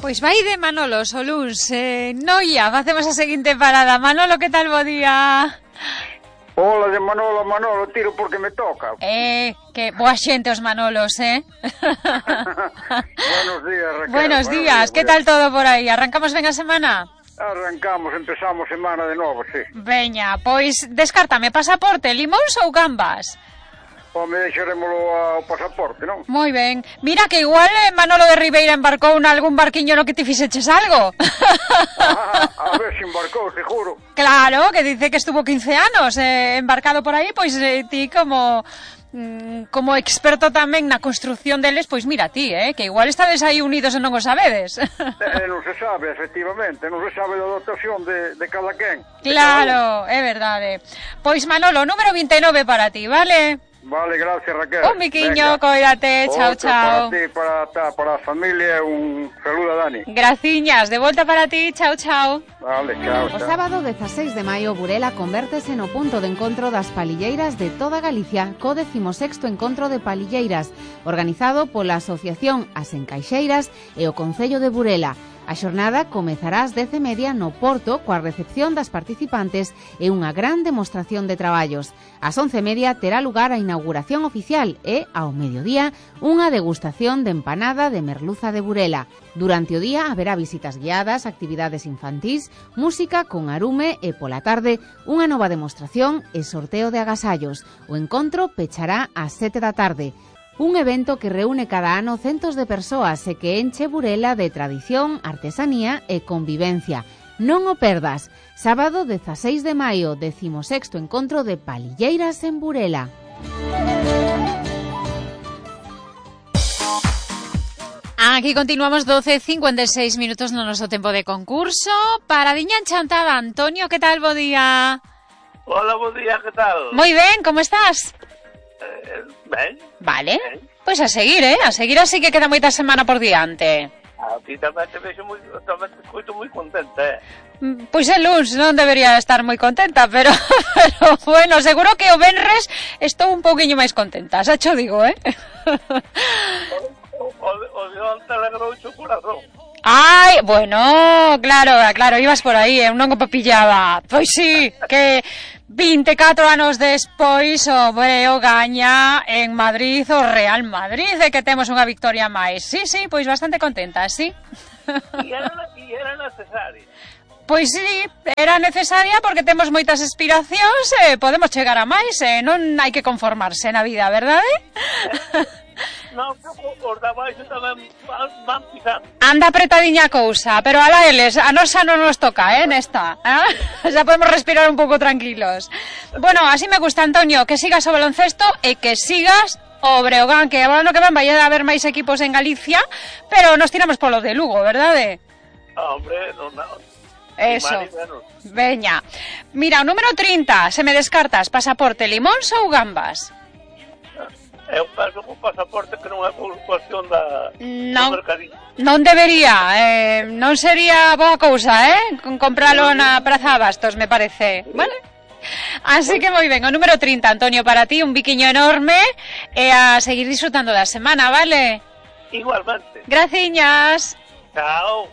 Pois vai de Manolo Soluns, Noia, facemos a seguinte parada. Manolo, que tal bo día? Hola de Manolo a Manolo, tiro porque me toca. Que boa xente os Manolos, Buenos días, Raquel. Buenos días, que tal todo por aí? Arrancamos ben a semana? Arrancamos, empezamos semana de novo, sí. Veña, pois descártame, pasaporte, limóns ou gambas? Home, deixaremoslo ao pasaporte, non? Moi ben. Mira que igual Manolo de Ribeira embarcou algún barquiño no que ti fixeches algo. A ver se embarcou, seguro. Claro, que dice que estuvo 15 anos embarcado por aí, pois ti como experto tamén na construcción deles, pois mira ti, que igual estades aí unidos e non o sabedes. Non se sabe, efectivamente, non se sabe da dotación de cada quen. Claro, é verdade. Pois Manolo, número 29 para ti, vale? Vale, gracias, Raquel. Un biquiño, coídate, chao, chao. Para a familia, un saludo a Dani. Graciñas, de volta para ti, chao, chao. Vale, chao, O chao. sábado 16 de maio, Burela convértese no punto de encontro das palilleiras de toda Galicia, co 16º Encontro de Palilleiras, organizado pola Asociación As Encaixeiras e o Concello de Burela. A xornada comezará ás 10:30 no Porto coa recepción das participantes e unha gran demostración de traballos. Ás 11:30 terá lugar a inauguración oficial e, ao mediodía, unha degustación de empanada de merluza de Burela. Durante o día haberá visitas guiadas, actividades infantís, música con arume e, pola tarde, unha nova demostración e sorteo de agasallos. O encontro pechará ás 7 da tarde. Un evento que reúne cada ano centos de persoas e que enche Burela de tradición, artesanía e convivencia. Non o perdas. Sábado 16 de maio, 16º Encontro de Palilleiras en Burela. Aquí continuamos 12:56 minutos no noso tempo de concurso. Paradiña enchantada, Antonio, que tal bo día? Hola, bo día, que tal? Moi ben, como estás? Ben. Vale, pois a seguir así que queda moita semana por diante. A ti tamén te vexo tamén te escoito moi contenta, Pois el luns non debería estar moi contenta, pero bueno, seguro que o venres estou un pouquiño máis contenta, xa cho digo, O de onte alegrouche o corazón. Ai, bueno, claro, ibas por aí, eu non o pillaba. Pois sí, que 24 anos despois o Breo gaña en Madrid o Real Madrid, e que temos unha victoria máis. Sí, pois bastante contenta, sí. E era necesaria. Pois sí, era necesaria porque temos moitas aspiracións e podemos chegar a máis, non hai que conformarse na vida, verdade? Non, os da baixo tamén van pisando. Anda apretadiña a cousa, pero ala eles, a nosa non nos toca, nesta. Xa podemos respirar un pouco tranquilos. Bueno, así me gusta, Antonio, que sigas o baloncesto e que sigas o Breogán, que agora no que van vai a haber máis equipos en Galicia, pero nos tiramos polo de Lugo, verdade? Hombre, non. Eso, veña. Mira, o número 30, se me descartas, pasaporte, limóns ou gambas? Eu penso que o pasaporte que non é por cuestión do mercadillo. Non debería, non sería boa cousa, compralo na Praza Abastos, me parece, vale? Así que moi ben, o número 30, Antonio, para ti, un biquiño enorme e a seguir disfrutando da semana, vale? Igualmente. Graciñas. Chao.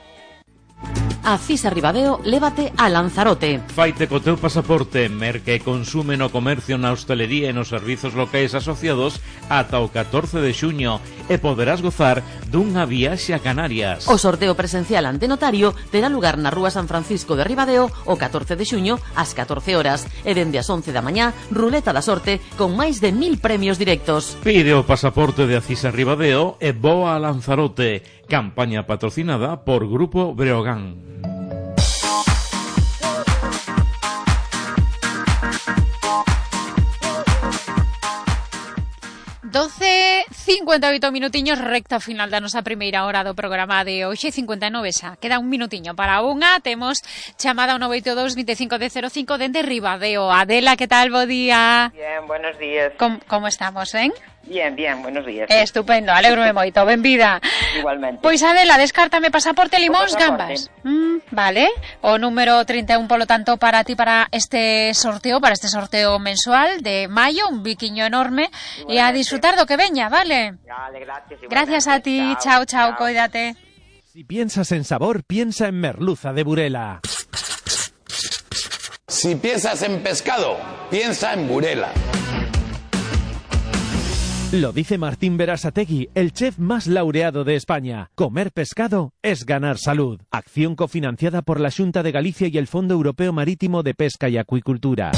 A Cisa Ribadeo, lévate a Lanzarote. Faite co teu pasaporte, merca e consume no comercio, na hostelería e nos servizos locais asociados ata o 14 de xuño e poderás gozar dunha viaxe a Canarias. O sorteo presencial ante notario terá lugar na Rúa San Francisco de Ribadeo o 14 de xuño ás 14 horas e dende as 11 da mañá, ruleta da sorte con máis de 1000 premios directos. Pide o pasaporte de Acisa Ribadeo e voa a Lanzarote. Campaña patrocinada por Grupo Breogán. Doce 58 minutiños, recta final da nosa primeira hora do programa de hoxe, 59 xa. Queda un minutiño para unha. Temos chamada ao 982 25 de 05 dende Ribadeo. Adela, que tal? Bo día. Bien, buenos días. Como estamos, ben? Bien, buenos días. Estupendo, alegro-me moito, benvida. Igualmente. Pois Adela, descártame pasaporte, limóns, gambas. Vale, o número 31, polo tanto, para ti, para este sorteo mensual de maio, un biquiño enorme, e a disfrutar do que veña, vale? Vale, gracias. Gracias a ti, chao, coídate. Si piensas en sabor, piensa en merluza de Burela. Si piensas en pescado, piensa en Burela. Lo dice Martín Berasategui, el chef más laureado de España. Comer pescado es ganar salud. Acción cofinanciada por la Xunta de Galicia y el Fondo Europeo Marítimo de Pesca y Acuicultura.